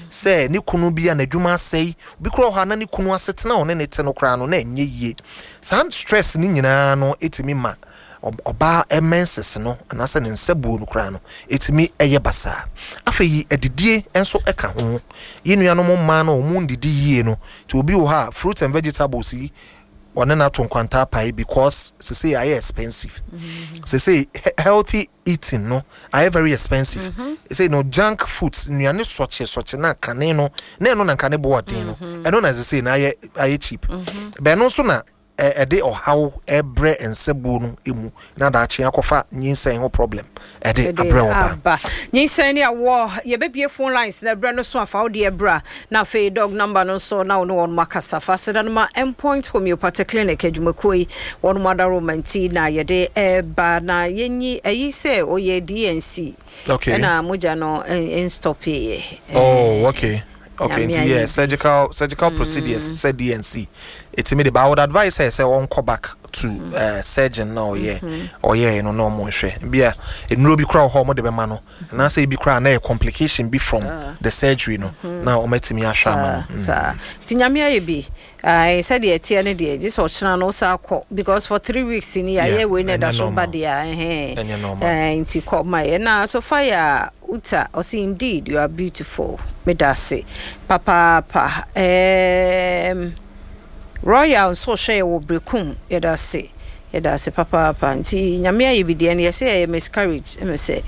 Sɛ ne kunu bi a n'adwuma asɛe, obi koraa wɔ hɔ a na ne kunu asetena a ɔne ne te no koraa no na ɛnyɛ yie. Saa stress no nyinaa no ɛtumi ma ɔbaa menses no anaasɛ ne nsabuo no koraa no ɛtumi ɛyɛ basaa. Afei adidie nso ɛka ho. Yɛn nuanom mmaa no, wɔn ndidi yie no, nti obi wɔ hɔ a fruits and vegetables yi ɔne no ato nkwanta apae because sesei ayɛ expensive. Sesei healthy eating no ayɛ very expensive. Sesei no junk foods, nnuane sɔkye sɔkye na kane no na ɛno na nka ne bo ɔden no, ɛno na sesei na ayɛ cheap. Bɛn no nso na ɛde ɔhaw ɛbrɛ nsabuo no mu na daakye akɔfa nyinsɛn ho problem ɛde abrɛ ɔbaa. Aba nyinsɛn ne awɔ. Yɛbɛbie phone lines na ɛbrɛ no so afa wo deɛ bra, na afei dog number no nso na wo ne wɔn akasa fa seda no ma Endpoint Homeopathic Clinic adwumakuo yi, wɔn mu adaroma nti na yɛde ɛba na yɛnyi ɛyi sɛ ɔyɛ D&C ɛna mogya no nstop yɛ. Oh, okay. Nti yeah, surgical procedures sɛ D&C ɛtumi de ba. I would advise sɛ ɔnkɔ back to surgeon na ɔyɛ no na ɔmo nhwɛ bia nnuro bi koraa wɔ hɔ a ɔmo de bɛma no, anaasɛ ebi koraa na yɛ complication bi from the surgery no na ɔmo atumi ahwɛ ama no. Saa nti Nyame ayɛ bi. Ae, sɛdeɛ ɛteɛ no deɛ, gye sɛ ɔkyena no wosa kɔ because for 3 weeks ni yɛayɛ wei na ɛda ɛnyɛ so ba normal. deɛ a ɛhɛn. Ɛnyɛ normal. Nti kɔ ma yɛ na Sophia Uta ɔse, "Indeed you are beautiful." Meda ase papaapa. Royal nso ɔhwɛ yɛ wɔ Brekum. Yɛda ase, yɛda ase papaapa. Nti Nyame ayɛ bi deɛ no, yɛsɛ yɛyɛ miscarriage ɛmɛ sɛ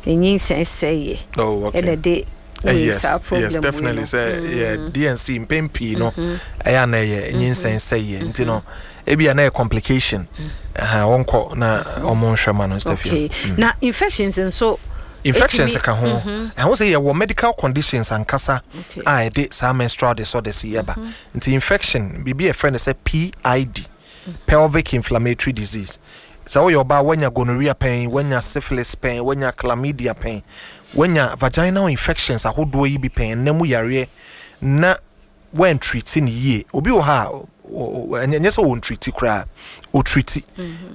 ɛnyinsɛn sɛeɛ ɛna de wei saa problem yes wei definitely no. Sɛ yeah, D&C mpɛn pii no ɛyɛ ana ɛyɛ nyinsɛn sɛeɛ, nti no ebi a na yɛ complication. Ɛha wɔnkɔ na ɔmo nhwɛ ma no. Okay, na infections nso? Infections ɛtumi- ka ho. Ɛho sɛ yɛwɔ medical conditions ankasa a ɛde saa menstrual disorders yi ɛba. Nti infection biribi a yɛfrɛ no sɛ PID, pelvic inflammatory disease. Sɛ woyɛ ɔbaa, woanya gonorrhea pɛn, woanya syphilis pɛn, woanya chlamydia pɛn, woanya vaginal infections ahodoɔ yi bi pɛn, ɛnna mu yareɛ na woantreat no yie. Obi wɔ ha a ɛnyɛ sɛ wɔntreat koraa, ɔtreat,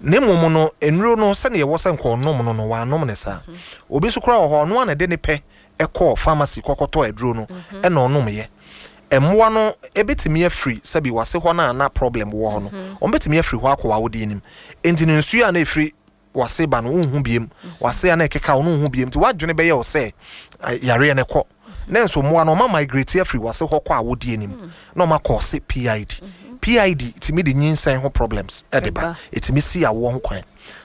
na mmom no nnuro no sɛdeɛ ɛwɔ sɛ nka ɔnom no, wanom ne saa. Obi nso koraa wɔ hɔ, ɔno a na ɛde ne pɛ ɛkɔɔ pharmacy kɔkɔtɔ aduro no ɛna ɔnomyɛ. Mmoa no ebɛtumi afiri sɛbi wase hɔ no a na problem wɔ hɔ no, wɔn bɛtumi afiri hɔ akɔ w'awodeɛ nim. Nti no nsuo a na efiri wase ba no, wonhu biem. Wase a na ɛkeka wo no, wonhu biem. Nti wadwene bɛyɛ wo sɛ yareɛ no kɔ, na nso mmoa no ɔma migrate afiri wase hɔ kɔ awodeɛ nim na ɔma kɔɔse PID. PID tumi de nyinsɛn ho problems ɛde ba. Ɛba. Ɛtumi si awoɔ ho kwan.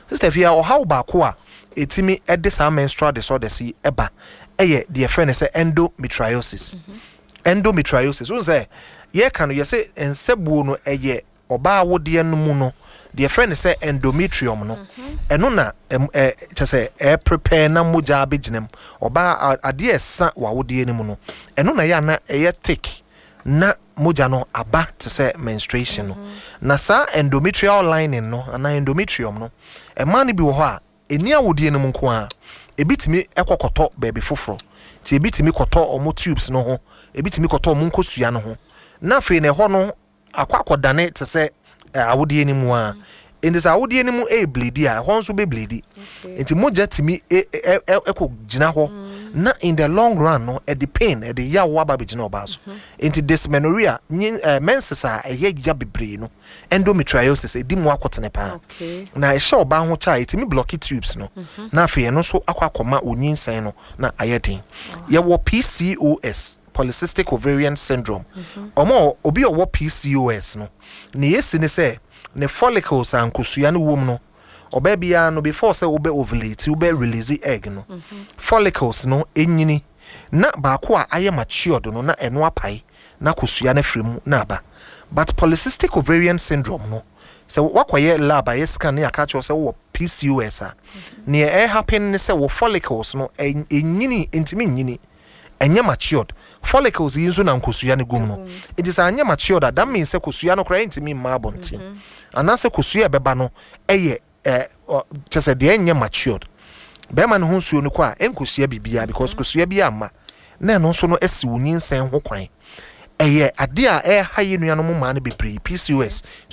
Sister Fia, ɔhaw baako a ɛtumi ɛde saa menstrual disorders yi ɛba ɛyɛ deɛ yɛfrɛ no sɛ endometriosis. Endometriosis, wohu sɛ yɛka no, yɛsɛ nsɛbuo no ɛyɛ ɔbaa awodeɛ no mu no, deɛ yɛfrɛ no sɛ endometrium no, ɛno na kyɛ sɛ ɛprepare na mogya abɛgyina mu. Ɔbaa adeɛ a ɛsa wɔ awodeɛ no mu no, ɛno na ɛyɛ ana ɛyɛ thick na mogya no aba te sɛ menstruation no. Na saa endometrial lining no anaa endometrium no, ɛmaa no bi wɔ hɔ a ɛni awodeɛ no mu nko a, ebi tumi ɛkɔ kɔtɔ baabi foforɔ. Nti ebi tumi kɔtɔ ɔmo tubes no ho, ebi tumi kɔtɔ ɔmo nkosua no ho, na afei na ɛhɔ no akɔ akɔdane te sɛ awodeɛ no mu a. Nti sɛ awodeɛ no mu ɛrebleed a, ɛhɔ nso bɛbleed. Nti mogya tumi ɛkɔ gyina hɔ na in the long run no ɛde pain, ɛde yaw aba bɛgyina ɔbaa so. Nti dysmenorrhea, nyi menses a ɛyɛ ya bebree no, endometriosis ɛdi mu akɔtene paa. Na ɛhyɛ ɔbaa ho kyɛ a, ɛtumi block tubes no na afei ɛno nso akɔ akɔma onyinsɛn no na ayɛ den. Yɛwɔ PCOS, polycystic ovarian syndrome. Ɔmo obi a ɔwɔ PCOS no, ne yɛsi ne sɛ ne follicles a nkosua no wɔ mu no, ɔbaa biara no, before sɛ wobɛ ovulate, wobɛ release egg no, follicles no ɛnyini na baako a ayɛ matured no na ɛno apae na kosua no afiri mu na aba. But polycystic ovarian syndrome no, sɛ wakɔyɛ lab, ayɛ scan ne aka kyerɛ wo sɛ wowɔ PCOS a, neɛ ɛhappen ne sɛ wɔ follicles no ɛnyini, ntumi nyini, ɛnyɛ matured. Follicles yi nso na nkosua no gum no. Nti sɛ anyɛ matured a, that means sɛ kosua no koraa ɛntumi mma abɔnten, anaasɛ kosua a ɛbɛba no ɛyɛ kyɛ sɛ deɛ ɛnyɛ matured. Bɛrima no ho nsuo no kɔ a, ɛnkosua biribiara because kosua bi amma, na ɛno nso no asi wo nyinsɛn ho kwan. Ɛyɛ adeɛ a ɛha yɛ nuanom mmaa no bebree, PCOS. Nti